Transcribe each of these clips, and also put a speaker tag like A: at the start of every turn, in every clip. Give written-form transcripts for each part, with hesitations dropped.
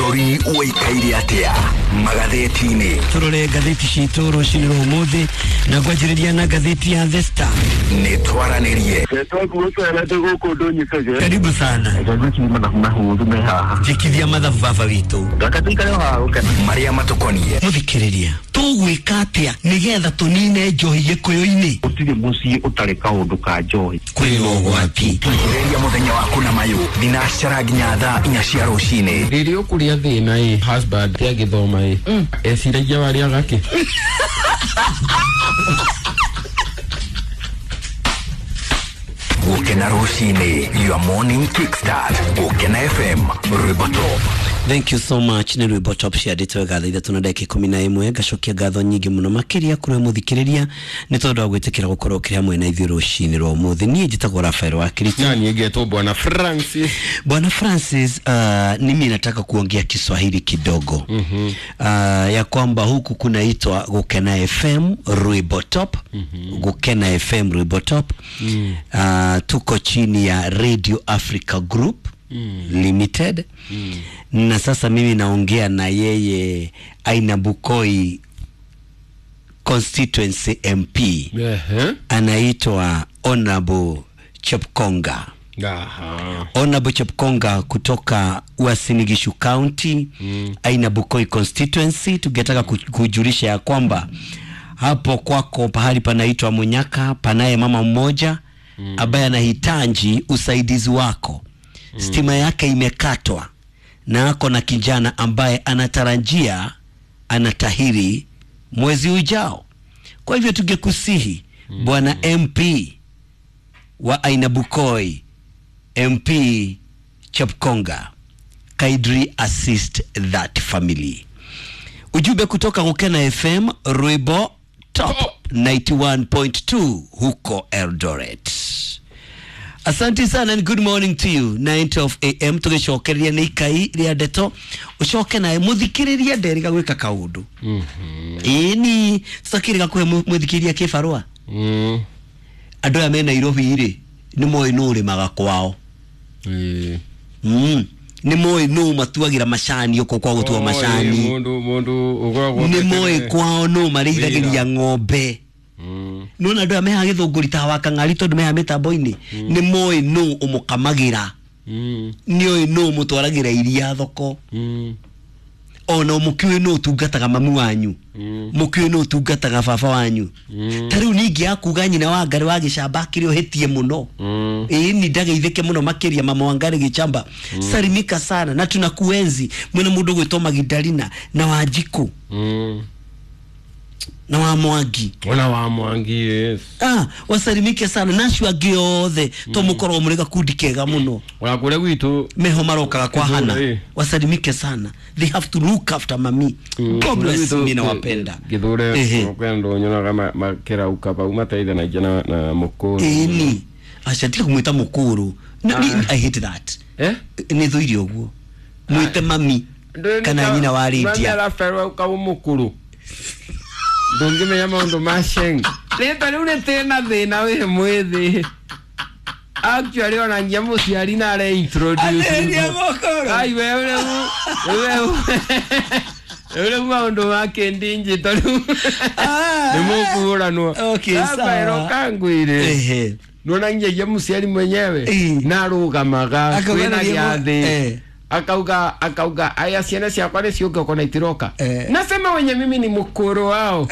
A: Bũrũri ũikaire atĩa magathĩti-inĩ?
B: Turore ngathĩti citũ rũcinĩ rwa ũmũthĩ na ngwanjĩrĩria na ngathĩti ya The Star.
A: Nĩ twaranĩrie.
B: Karibu sana. Njĩkithia mathabu baba witũ.
A: Marĩa matũkoniĩ.
B: Mũthikĩrĩria, tũgwĩka atĩa nĩgetha tũnine njohi gĩkũyũ-inĩ?
C: Gũtirĩ mũciĩ ũtarĩ kaũndũ ka njohi.
B: Kwĩ ũgwati.
A: Geria mũthenya waku na mayũ thinacara nginya thaa 4 cia rũcinĩ.
D: Rĩrĩa ũkũrĩa thĩna ĩ husband agĩthoma ĩ eciragia warĩaga kĩ?
A: Gũkena rũcinĩ, your morning kickstart. Gũkena FM, Rwĩmbo Top.
B: Thank you so much. Nĩ rwĩmbo top ciandĩtwo wega thaa 3:11. Ngacokia ngatho nyingĩ mũno makĩria kũrĩ mũthikĩrĩria nĩ tondũ wa gwĩtĩkĩra gũkorwo ũkĩrĩ hamwe na ithuĩ rũcinĩ rwa ũmũthĩ. Niĩ njĩtagwo Rafael wa Kristo.
D: Na niĩ ngetwo Bwana Francis.
B: Bwana Francis, mimi nataka kuongea Kiswahili kidogo. Ya kwamba huku kunaitwa Gukena FM Rwimbo Top. Gukena FM Rwimbo Top. Tuko chini ya Radio Africa Group Limited. Na sasa mimi naongea na yeye Aina Bukoi constituency MP.
D: Ehe.
B: Anaitwa Honorable Chepkonga.
D: Aha.
B: Honorable Chepkonga kutoka Uasin Gishu County, Aina Bukoi constituency. Tungetaka kujulisha ya kwamba hapo kwako pahali panaitwa Munyaka panaye mama mmoja ambaye anahitaji usaidizi wako. Stima yake imekatwa na ako na kijana ambaye anatarajia anatahiri mwezi ujao. Kwa hivyo tungekusihi Bwana MP wa Aina Bukoi, MP Chepkonga, kindly assist that family. Ujumbe kutoka Gukena FM Rwimbo Top 91.2 huko Eldoret. Asante sana and good morning to you. 9:12 am tugicokereria nĩ ikai rĩa ndeto ucoke nawe mũthikĩrĩria nderĩga gwĩka kaũndũ. Ĩni tũtakĩrĩga kũhe mũthikĩrĩria kĩbarũa. Andũ aya me Nairobi rĩ nĩ moĩ nũ ũrĩmaga kwao. Nĩ moĩ nũ matuagĩra macani ũko kwa gũtua macani.
D: Mũndũ ũkoragwo
B: Nĩ moĩ kwao nũ marĩithagĩria ng'ombe. Nona andũ aya mehaha gĩthũngũri ta wa kang'ari tondũ mehaha mĩtambo-inĩ nĩ moĩ nũ ũmũkamagĩra. Nĩ oĩ nũ ũmũtwaragĩra iria thoko. Ona mũkĩũĩ nũ ũtungataga mamu wanyu. Mũkĩũĩ nũ ũtungataga baba wanyu. Ta rĩu ningĩ akuga nyina wa Ngarĩ wa gĩcamba akĩrĩ ũhĩtie mũno. Ĩĩ ni ndageithĩke mũno makĩria mama wa Ngarĩ gĩchamba. Salimika sana na tunakuenzi. Mwena mũndũ gwĩtwo Magdalena na Wanjikũ. Na wa Mwangi.
D: Ona wa Mwangi, yes.
B: Wasalimike sana na acio angĩ othe to mũkorwo mũrĩ gakundi kega mũno.
D: Ona kũrĩa gwitũ
B: meho marokaga kwa
D: Kĩthũri,
B: Hana. Wasalimike sana. They have to look after mami. God bless, mimi nawapenda.
D: Gĩthure
B: Ehe.
D: kwĩ andũ nyonaga makĩrauka pau mateithanagia na mũkũrũ.
B: Ĩni. Aca tiga kũmwĩta mũkũrũ. I hate that.
D: Eh?
B: Nĩ thũire ũguo. Mwĩte mami kana nyina wa
D: Mami
B: Lydia.
D: araberwo ũka mũkũrũ. Ndũngĩmenya maũndũ ma sheng. Rĩtwa rĩu rĩtirĩ na thĩna wĩ mwĩthĩ. Actually ona nginya mũciari na are-introduce.
B: Athĩnia mũkũrũ.
D: Ai we rĩu rĩu maũndũ ma kĩndinjito rĩu nĩ mũkũhũranwo.
B: Okay, sawa.
D: Rafael kangwĩre.
B: Ehe.
D: Nona nginya mũciari mwenyewe na arũgamaga
B: Akauga
D: kwĩna
B: nĩ
D: gĩathĩ. Akauga aya ciana ciakwa nĩ ciũke ũkona itiroka. Nasema wenye mimi ni mkuru wao.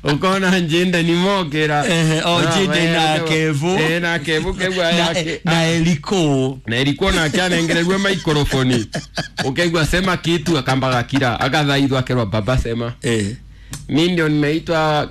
D: Ukona njinda ni mokera.
B: Njinde na Kevu.
D: Na Kevu kegwa yake.
B: Na Eliko.
D: Na Eliko na anengererwe maikrofoni. Ukaigua sema kitu akambaga kira akathaithwa akerwa baba sema. Mimi ndio nimeitwa